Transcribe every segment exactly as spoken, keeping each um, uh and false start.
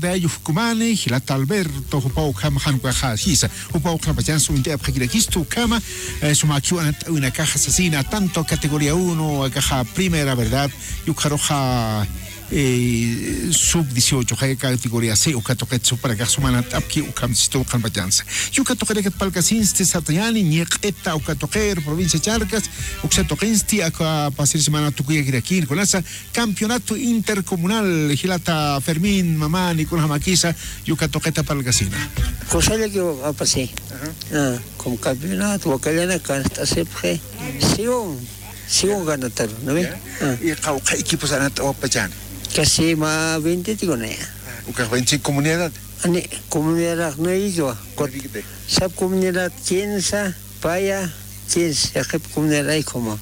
Dayux kumani jilata Alberto jupaw ukhama jan ukaxa jisa jupaw ukhama chans uñt'ayapxakirakistu ukhama. Sumakiw anat'awinakaxa sasina tanto categoría uno akaxa primera verdad, yukxaruxa sub dieciocho jaya categoría c uka tuqit supanakax sumanat'apki ukham sistuw qhanpachansa. Yuka tuqinakat palkasinsti sartañani ñiq'ita uka tuqir provincia charcas, uksa tuqinsti aka pasir semana tukuyakirakïn kunasa campeonato intercomunal jilata Fermín mamani kunjamakisa. Yuka tuqita palkasina. Kusallaki apasi. Como campeonato wakallana kanst'asipxi. Sigun sigun ganataru, ¿no ve? Y qawqha equipos anat'awapachani. Casi ma veinte tikuna ya. Ukax veinticinco comunidad. Ani comunidad no ikiwa. Sab comunidad quince, paya quince yaqip comunidad ay como.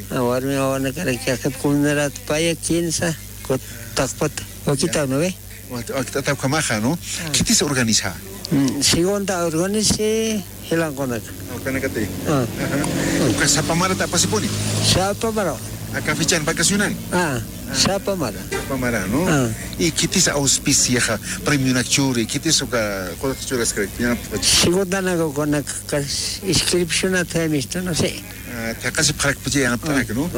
Warmi wawanakarak yaqip comunidad paya quince. Taqpata wakitaw, ¿no ve? Wakt'ata ukhamaxa, ¿no? Khitis organiza? Segunda organice jilankunaka. Ukanakati. Uka sapamarat apasipuni. Sapamara. Aka fichan vacacional. Sapamara. Sapamara, ¿no? Y khitis auspiciaxa premionak churi khitis uka quraq churaskrak? Segundanaka ukanaka inscripcionat jaymistu, no sé. Thaqasipxarakpacha yanapt'anak, ¿no?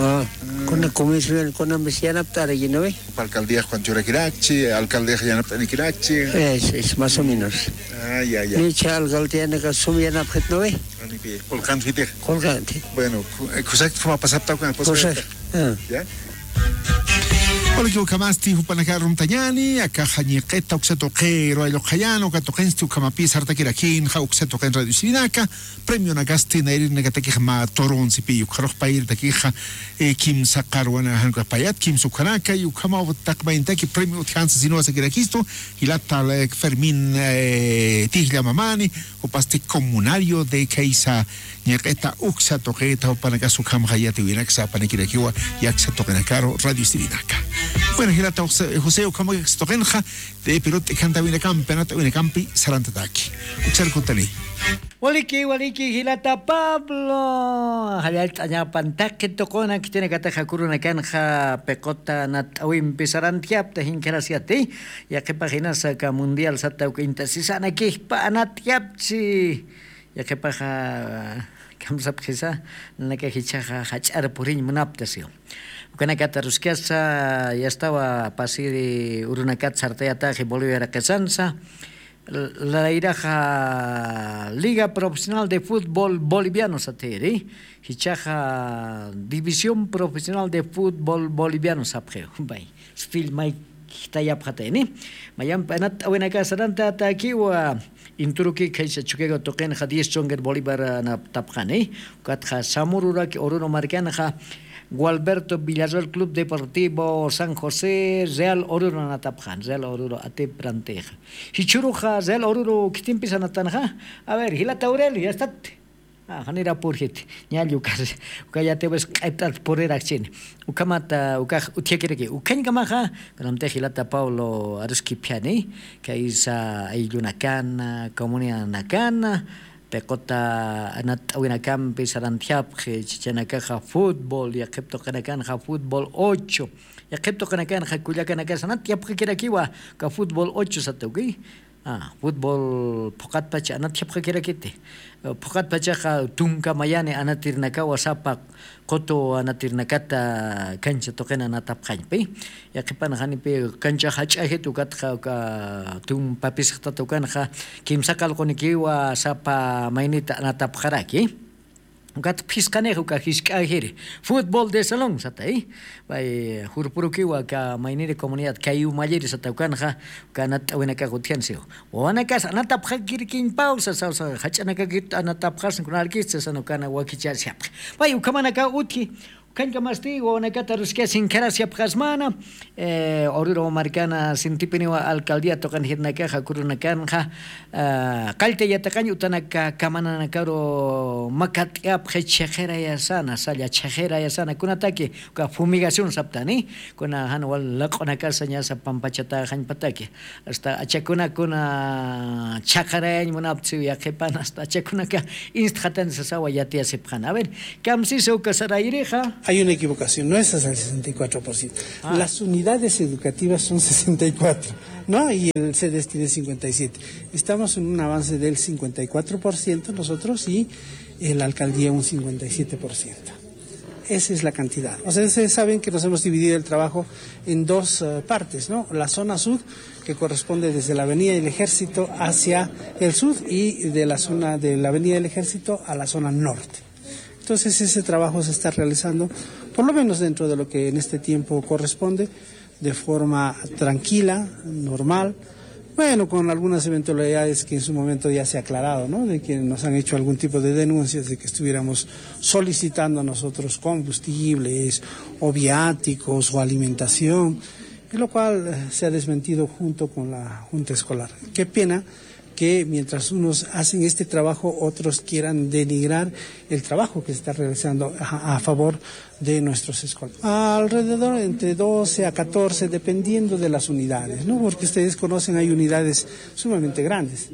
Kuna comisión kunamis yanapt'araki, ¿no ve? Alcaldiax kuwan churakirakchi alcaldiax yanapt'anikirakchi. Es más o menos. Nicha alcaldianaka sum yanapxit, ¿no ve? Qulqanfitix. Qulqanti. Bueno, kusakti juma pasaptawkan. Kusakti. Walikiw ukhamasti jupanakar rumtañani akaxa ñiq'ita uksa tuqiru alluqayan uka tuqinsti ukhamapis sartakirakïnxa uksa tuqin radio sirinaka. Premionakasti nayrinakatakix mä turunsipi ukxarux payiritakixa kimsa qarwana jan ukax payat kimsa ukxanaka y ukhamaw taqmayintaki premio utjansa sinuwasakirakistu. Jilata Fermín tijllamamani jupasti comunario de khaysa ñiq'ita uksa tuqita jupanakas ukhamxa yatiwinaksa apanakirakiwa. Yaksa tuqinakaru radio sirinaka. Bueno jilata josé ukhamakaksa tuqinxa de pirut t'ikantawinakampi anat'awinakampi sarantataki. Uksarkutani. Waliki waliki jilata pablo. Jallallt'añapan taqi tuquna khitinakataxa kurunakanxa piquta nat'awimpi sarantjapta jinkharasyati. Yaqipax inasa aka mundial satawka intasisana kijpa anatjapchi. Yaqipaxa kamsapxisa nanaka jichhaxa jach'ar puriñ munaptasiw. Ukanakata ruskasa yastawa pasiri urunakat sartayataxi boliviaraqisansa. Layraxa liga profesional de futbol boliviano satiri. Jichaxa división profesional de futbol boliviano sapxiw. Bay spillmay jitayapxatayni. Mayampi anat'awinaka sarantatakiwa. Inturuki khaysa chukiga tuqinxa diez chongir bolivar anatapxani. Ukatxa samururaki ururu markanxa gualberto villarreal club deportivo san josé real ururu anatapxani real ururu atiprantixa. Jichhuruxa real ururu khitimpis anatanxa. A ver jilata urel yastati. Janira purjiti ñalli uka yatiwis q'ipt'at purirakchini. Ukhamata ukax utjakiraki ukhañkamaxa. Kunamtix jilata pablo aruskipjani khaysa ayllunakana comunidadnakana piquta anat'awinakampi sarantjapxi chichanakaxa futbol yaqhip tuqinakanxa futbol ocho. Yaqhip tuqinakanxa kullakanakas anatjapxakirakiwa. Uka futbol ocho satuki. Futbol phuqatpacha anatjapxakirakiti. Phuqatpachaxa tunka mayani anatirnakawa sapa qutu anatirnakata kancha tuqina anatapxañpi. Yaqhipan janipi kancha jach'ajit ukatxa uka tumpapis jatatukanxa kimsa qalqunikiwa sapa maynita anatapxaraki. Ukat phisqanix uka jisk'ajiri futbol de salón satay. Pay jurpurukiwa aka mayniri comunidad kay umalliri satawkanxa. Uka anat'awinakax utjansiw wawanakas anatapxakirkiñpaw sasawsa jach'anakakit anatapxasn kunarkista sasana ukana wakichasiyapxi. Pay ukhamanakaw utji. Ukhañkamasti wawanakata ruskiyas jinkharasiyapxasmana. Oruro markana sintipiniwa alcaldía tuqan jirnakaxa kurunakanxa qallta yataqañ utanaka kamananakaru makat'iyapxi chhiqirayasana salla chhiqirayasana kunataki uka fumigación saptani. Kuna jan wal laq'unakasa ñasa pampachata jañpataki asta achakunakuna chhaqarayañ munaptsiw yaqhipan asta achakunaka instxatani sasawa yatiyasipxana a ver. Kamsisa uka sarayrixa. Hay una equivocación no es el sesenta y cuatro por ciento. Las unidades educativas son sesenta y cuatro. ¿no? Y el CEDES tiene cincuenta y siete. Estamos en un avance del cincuenta y cuatro por ciento nosotros y la alcaldía un cincuenta y siete por ciento. Esa es la cantidad. O sea, ustedes saben que nos hemos dividido el trabajo en dos eh, partes, ¿no? La zona sur, que corresponde desde la Avenida del Ejército hacia el sur, y de la zona de la Avenida del Ejército a la zona norte. Entonces, ese trabajo se está realizando, por lo menos dentro de lo que en este tiempo corresponde, de forma tranquila, normal, bueno, con algunas eventualidades que en su momento ya se ha aclarado, ¿no? De que nos han hecho algún tipo de denuncias de que estuviéramos solicitando a nosotros combustibles o viáticos o alimentación, lo cual eh, se ha desmentido junto con la Junta Escolar. Qué pena que mientras unos hacen este trabajo, otros quieran denigrar el trabajo que se está realizando a, a favor de nuestros escolares. Alrededor entre doce a catorce, dependiendo de las unidades, ¿no? Porque ustedes conocen, hay unidades sumamente grandes,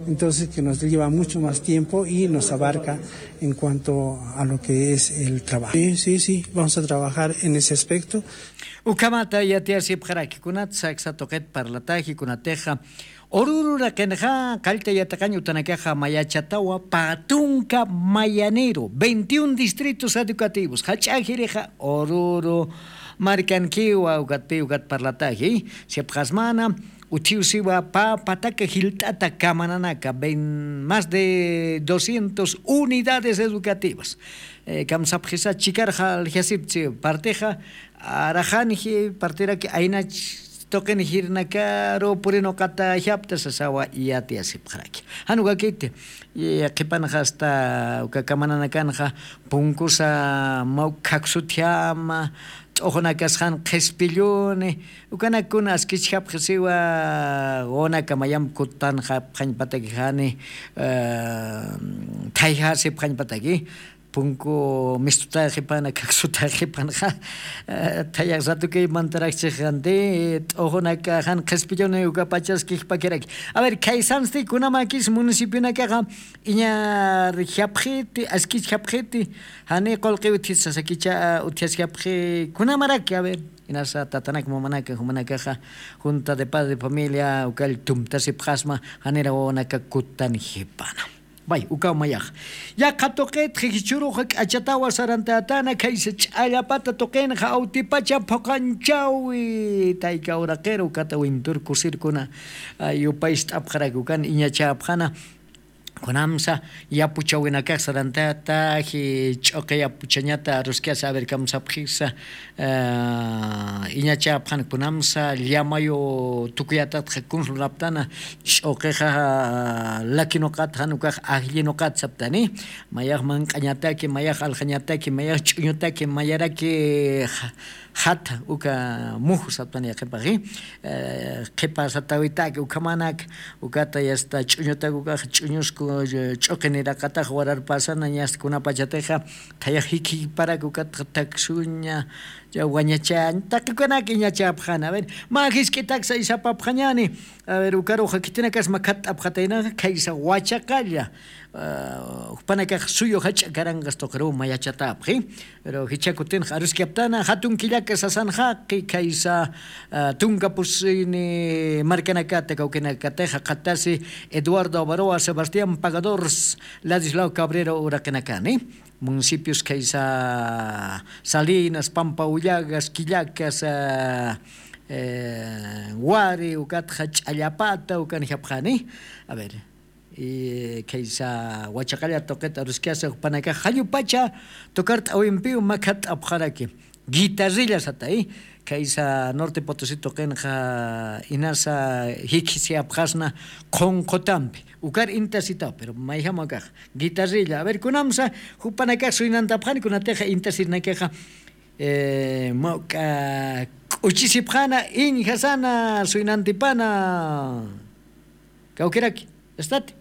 entonces que nos lleva mucho más tiempo y nos abarca en cuanto a lo que es el trabajo. Sí, sí, sí, vamos a trabajar en ese aspecto. Ukhamata yatiyasipxaraki kunat saksa tuqit parlataji kunatixa. Ururu raqinxa qallta yataqañ utanakaxa mayachatawa pä tunka mayanïru, veintiún distritos educativos jach'ajirixa ururu markankiwa ukatpï ukat parlataji. Sipxasmana utjiw siwa pä pataka jilt'ata kamananaka, más de doscientos unidades educativas. Kamsapxisa chikarxa aljasipchi partixa, araxanji partiraki aynach tuqin jirnakaru purinuqata japta sasawa yatiyasipxaraki. Jan ukakiti qhipanxa asta uka kamananakanxa punkusa mawk khaksutjama, t'uxunakasxan qhispilluni, ukanakuna askichjapxisiwa. Wawanaka mayamp kutanxapxañpataki jani thayjasipxañpataki, punku mistutaxipana khaksutaxipanxa. Thayax ratuki mantarakchixanti t'uxunaka jan qhispilluni ukapachaskixpakiraki. A ver, khaysansti kunamakis municipionakaxa iñar japxiti askich japxiti, jani qulqi utjit sasakicha utjaskapxi kunamaraki? A ver, inasa tatanak mamanaka jumanakaxa junta de padre de familia ukall tumtasipxasma, janira wawanaka kutanjipana. Bay ukaw mayax. Yaqha tuqitxi jichhuruxa k'achatawa sarantätana khaysa ch'allapata tuqinxa awtipacha phuqanchawi tayka uraqiru ukata wintur kusirkuna. Yupaycht'apxaraki ukan iñachäpxana. Kunamsa yapuchawinakax sarantätaji ch'uqi yapuchañata aruskasa averkamsapxisa. Iñachäpxan kunamsa llamayu tukuyatatxa kunsulaptana. Ch'uqixa lakinuqat jan ukax ajllinuqat saptani. Mayax manq'añataki mayax aljañataki mayax ch'uñutaki mayaraki jata uka muju saptani qhipaxi. Qhipa satawitaki ukhamanak ukata yasta ch'uñutak ukax ch'uñusku ch'uqiniraqatax wararpasana ñasta kunapachatixa. Thayax jikhiparak ukatxa taksuña wañachañ taqikunak iñachapxana a ver. Mä jisk'itaksa isapapxañani. A ver ukaruxa khitinakas makhatt'apxataynaxa khaysa wachaqalla. Jupanakax suyu jach'a karanqas tuqiruw mayachatapxi. Pero jichha kutinxa aruskaptana jatun killaka sasan jaqi khaysa tunka pusini markanakata kawkinakatixa qhattasi eduardo avaroa sebastián pagador, ladislao cabrero uraqinakani. Municipios khaysa salinas pampa ullagas killakas wari ukatxa ch'allapata ukanjapxani. A ver, khaysa wachaqalla tuqit aruskasa jupanakax jallupacha tukart'awimpiw makhat'apxaraki. Guitarrilla satay khaysa norte potosi tuqinxa inasa jikhisiyapxasna. Qhunqhutampi ukar intasitaw pero mayjama ukax guitarrilla a ver kunamsa jupanakax suynantapxani kunatixa intasirinakixa. Mawk'a k'uchisipxana iñjasana suynantipana. Kawkiraki. Estati.